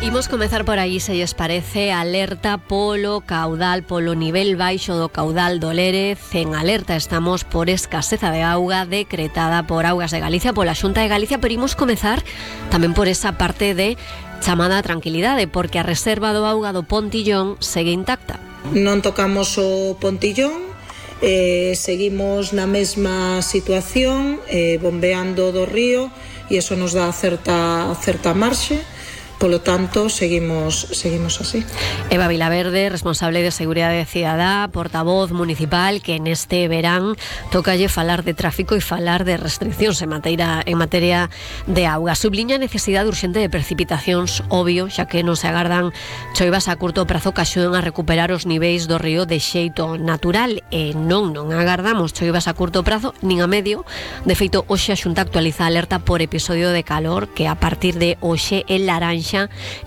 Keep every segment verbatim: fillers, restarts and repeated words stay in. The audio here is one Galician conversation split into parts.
Imos comezar por aí, se lles parece, alerta polo caudal, polo nivel baixo do caudal do Lérez. En alerta estamos por escaseza de auga decretada por Augas de Galicia, pola Xunta de Galicia, pero imos comezar tamén por esa parte de chamada tranquilidade, porque a reserva do auga do Pontillón segue intacta. Non tocamos o Pontillón, eh, seguimos na mesma situación, eh, bombeando do río, e iso nos dá certa, certa marxe. Polo tanto, seguimos seguimos así. Eva Vilaverde, responsable de Seguridade Cidadá, portavoz municipal, que neste verán tócalle falar de tráfico e falar de restriccións en materia, en materia de auga. Subliña a necesidade urxente de precipitacións, obvio, xa que non se agardan choivas a curto prazo que axuden a recuperar os niveis do río de xeito natural, e non non agardamos choivas a curto prazo nin a medio. De feito, hoxe a Xunta actualiza a alerta por episodio de calor, que a partir de hoxe é laranxa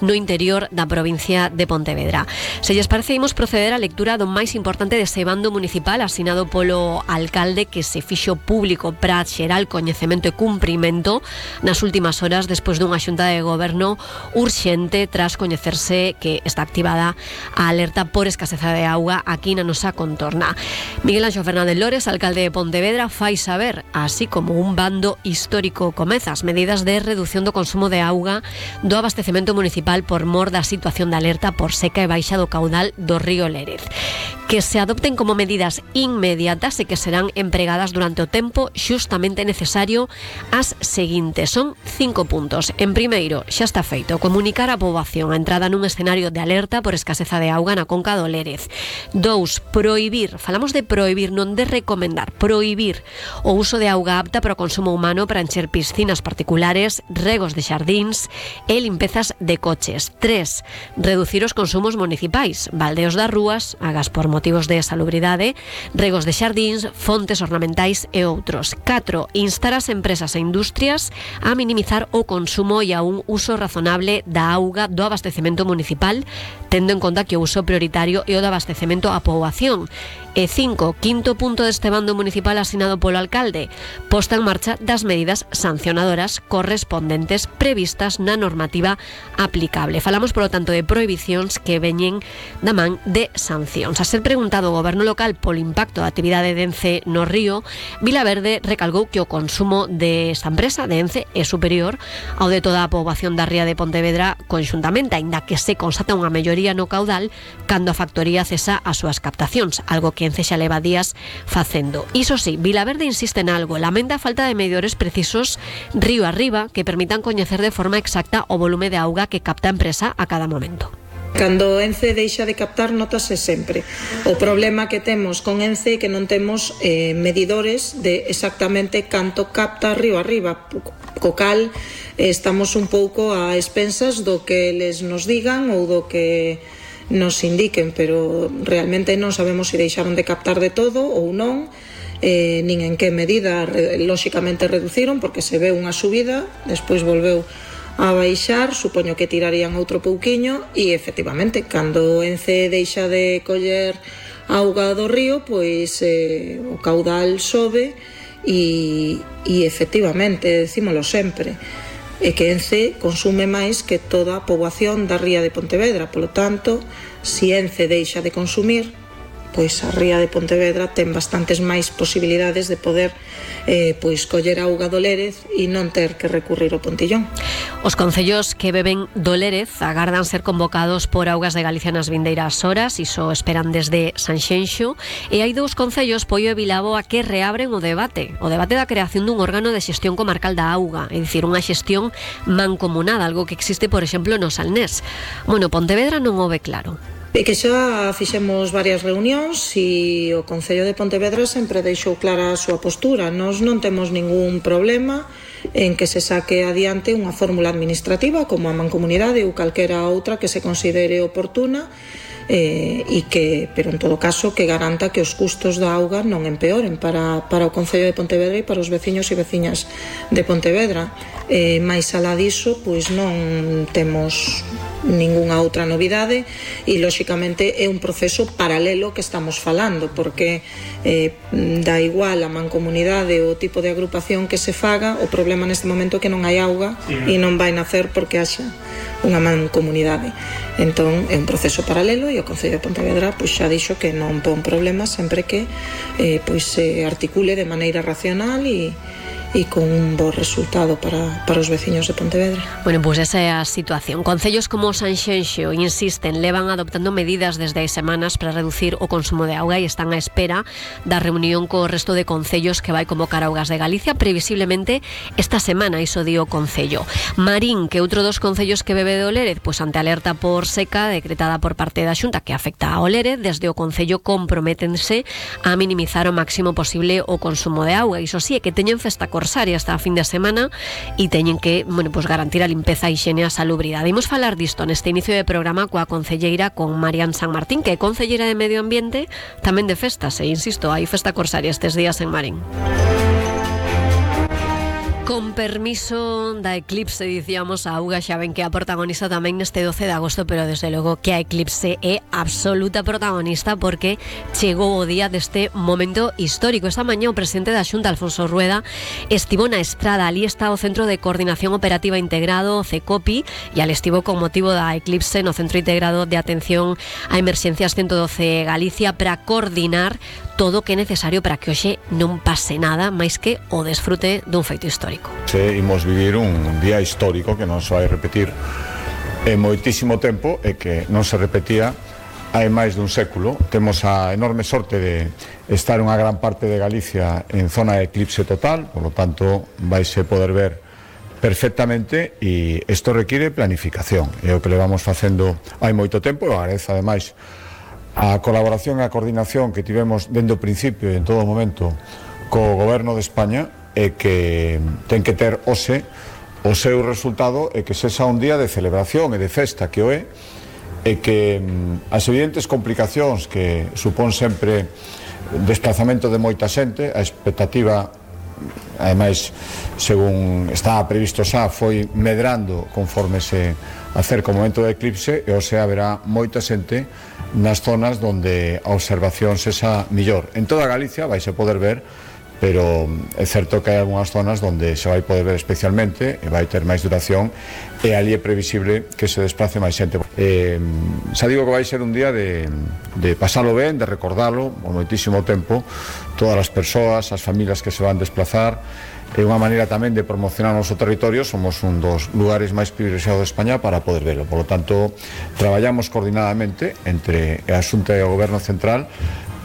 no interior da provincia de Pontevedra. Se lles parece, imos proceder á lectura do máis importante dese bando municipal asinado polo alcalde, que se fixo público para xeral coñecemento e cumprimento nas últimas horas despois dunha xunta de goberno urxente tras coñecerse que está activada a alerta por escaseza de auga aquí na nosa contorna. Miguel Anxo Fernández Lores, alcalde de Pontevedra, fai saber, así como un bando histórico, comeza as medidas de reducción do consumo de auga do abastecemento municipal por mor da situación de alerta por seca e baixa do caudal do río Lérez, que se adopten como medidas inmediatas e que serán empregadas durante o tempo xustamente necesario as seguintes. Son cinco puntos. En primeiro, xa está feito comunicar á poboación a entrada nun escenario de alerta por escaseza de auga na conca do Lérez. Dous, prohibir, falamos de prohibir, non de recomendar, prohibir o uso de auga apta para o consumo humano para encher piscinas particulares, regos de xardíns e limpezas de coches. Tres, reducir os consumos municipais, baldeos das rúas, agas por motivos de salubridade, regos de xardíns, fontes ornamentais e outros. Catro, instar as empresas e industrias a minimizar o consumo e a un uso razonable da auga do abastecemento municipal, tendo en conta que o uso prioritario é o do abastecemento á poboación. E cinco, quinto punto deste bando municipal asinado polo alcalde, posta en marcha das medidas sancionadoras correspondentes previstas na normativa aplicable. Falamos, polo tanto, de prohibicións que veñen da man de sancións. A ser preguntado o goberno local polo impacto da actividade de Ence no río, Vilaverde recalcou que o consumo desta empresa, de Ence, é superior ao de toda a poboación da ría de Pontevedra conxuntamente, aínda que se constata unha melloría no caudal cando a factoría cesa as súas captacións, algo que Ence xa leva días facendo. Iso sí, Vilaverde insiste en algo, lamenta a falta de medidores precisos río arriba que permitan coñecer de forma exacta o volume de auga que capta a empresa a cada momento. Cando Ence deixa de captar, notase sempre. O problema que temos con Ence é que non temos eh, medidores de exactamente canto capta río arriba, co cal eh, estamos un pouco a expensas do que eles nos digan ou do que nos indiquen, pero realmente non sabemos se deixaron de captar de todo ou non, eh, nin en que medida lóxicamente reduciron, porque se ve unha subida, despois volveu a baixar, supoño que tirarían outro pouquiño, e efectivamente, cando Ence deixa de coller auga do río, pois eh, o caudal sobe e, e efectivamente, decímolo sempre, é que Ence consume máis que toda a poboación da ría de Pontevedra. Polo tanto, se Ence deixa de consumir, pois a ría de Pontevedra ten bastantes máis posibilidades de poder eh, pois coller auga do Lérez e non ter que recurrir ao Pontillón. Os concellos que beben do Lérez agardan ser convocados por Augas de Galicia nas vindeiras horas, iso esperan desde Sanxenxo, e hai dous concellos, Poio e Vilaboa, que reabren o debate, o debate da creación dun órgano de xestión comarcal da auga, é dicir, unha xestión mancomunada, algo que existe, por exemplo, no Salnés. Bueno, Pontevedra non o ve claro. E que xa fixemos varias reunións e o Concello de Pontevedra sempre deixou clara a súa postura. Nós non temos ningún problema en que se saque adiante unha fórmula administrativa como a mancomunidade ou calquera outra que se considere oportuna, eh, e que, pero en todo caso, que garanta que os custos da auga non empeoren para, para o Concello de Pontevedra e para os veciños e veciñas de Pontevedra. Eh, máis alá diso, pois non temos ningunha outra novidade e lóxicamente é un proceso paralelo que estamos falando, porque eh, dá igual a mancomunidade ou o tipo de agrupación que se faga, o problema neste momento é que non hai auga e non vai nacer porque haxa unha mancomunidade. Entón é un proceso paralelo e o Concello de Pontevedra pois xa dixo que non pon problema sempre que eh, pois se articule de maneira racional e e con un bo resultado para, para os veciños de Pontevedra. Bueno, pois pues esa é a situación. Concellos como Sanxenxo insisten, levan adoptando medidas desde hai semanas para reducir o consumo de auga e están á espera da reunión co resto de concellos que vai convocar Augas de Galicia previsiblemente esta semana, iso di o Concello. Marín, que outro dos concellos que bebe do Lérez, pois ante alerta por seca decretada por parte da Xunta que afecta ao Lérez, desde o Concello comprométense a minimizar o máximo posible o consumo de auga. Iso sí, é que teñen festa corsaria hasta a fin de semana e teñen que, bueno, pues garantir a limpeza, a higiene e a salubridade. Imos falar disto neste inicio de programa coa concelleira, con Marian San Martín, que é concelleira de Medio Ambiente, tamén de festas, e insisto, hai festa corsaria estes días en Marín. Con permiso da Eclipse, dicíamos, a auga xa ven que a protagonista tamén neste doce de agosto, pero desde logo que a Eclipse é absoluta protagonista porque chegou o día deste momento histórico. Esta mañá o presidente da Xunta, Alfonso Rueda, estivo na Estrada, ali está o Centro de Coordinación Operativa Integrado, o CECOPI, e al estivo con motivo da Eclipse no Centro Integrado de Atención a Emerxencias ciento doce Galicia para coordinar todo o que é necesario para que hoxe non pase nada máis que o desfrute dun feito histórico. Se imos vivir un día histórico que non se vai repetir en moitísimo tempo e que non se repetía hai máis dun século. Temos a enorme sorte de estar unha gran parte de Galicia en zona de eclipse total, por lo tanto vaise poder ver perfectamente e isto require planificación. É o que levamos facendo hai moito tempo e agradezo ademais a colaboración e a coordinación que tivemos dende o principio e en todo momento co Goberno de España e que ten que ter hoxe o seu resultado e que sexa un día de celebración e de festa que o é e que as evidentes complicacións que supón sempre desplazamento de moita xente, a expectativa ademais, según estaba previsto xa, foi medrando conforme se acerca o momento do eclipse e hoxe haberá moita xente nas zonas onde a observación sexa millor. En toda Galicia vais a poder ver, pero é certo que hai algunhas zonas onde se vai poder ver especialmente e vai ter máis duración e ali é previsible que se desplace máis xente. Eh, xa digo que vai ser un día de, de pasalo ben, de recordarlo por moitísimo tempo, todas as persoas, as familias que se van desplazar. É unha maneira tamén de promocionar o noso territorio. Somos un dos lugares máis privilexiados de España para poder verlo. Por lo tanto, traballamos coordinadamente entre a Xunta e o Goberno Central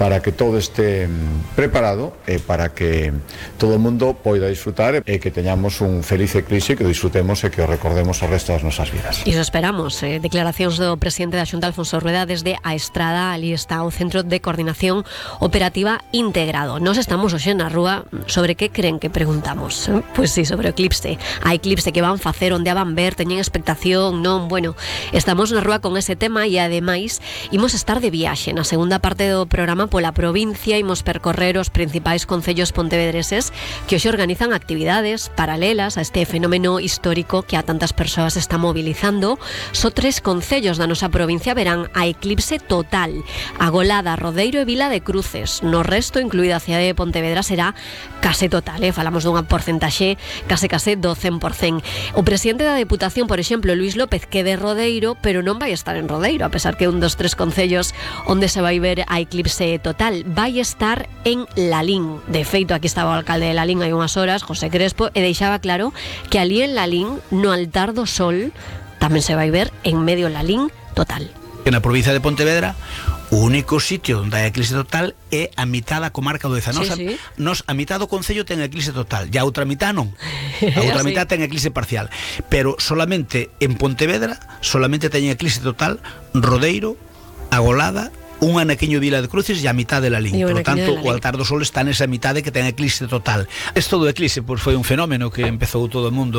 para que todo este preparado e para que todo o mundo poida disfrutar e que teñamos un feliz eclipse, que o disfrutemos e que o recordemos o resto das nosas vidas. Iso esperamos. Eh, declaracións do presidente da Xunta, Alfonso Rueda, desde a Estrada. Ali está o Centro de Coordinación Operativa Integrado. Nos estamos hoxe na rúa. Sobre que creen que preguntamos? Eh? Pois sí, sobre o eclipse. A eclipse que van facer, onde a van ver, teñen expectación, non? Bueno, estamos na rúa con ese tema e ademais imos estar de viaxe na segunda parte do programa pola provincia. Imos percorrer os principais concellos pontevedreses que hoxe organizan actividades paralelas a este fenómeno histórico que a tantas persoas está mobilizando. Só tres concellos da nosa provincia verán a eclipse total: Agolada, Rodeiro e Vila de Cruces. No resto, incluída a cidade de Pontevedra, será case total, eh? Falamos dunha porcentaxe case case do cen por cen. O presidente da Deputación, por exemplo, Luís López, que de Rodeiro, pero non vai estar en Rodeiro, a pesar que é un dos tres concellos onde se vai ver a eclipse total. Vai estar en Lalín. De feito, aquí estaba o alcalde de Lalín hai unhas horas, José Crespo, e deixaba claro que ali en Lalín, no altar do sol, tamén se vai ver en medio Lalín total. En a provincia de Pontevedra, o único sitio onde hai eclipse total é a mitad da comarca do Deza. Nos, sí, sí. nos a mitad do concello ten eclipse total, e a outra mitad non. A outra mitad ten eclipse parcial. Pero solamente en Pontevedra, solamente ten eclipse total Rodeiro, Agolada, un anaquiño Vila de Cruces e a mitad de Lalín. Por lo tanto, o altar do sol está nesa mitade que ten eclipse total. Esto do eclipse pois, foi un fenómeno que empezou todo o mundo a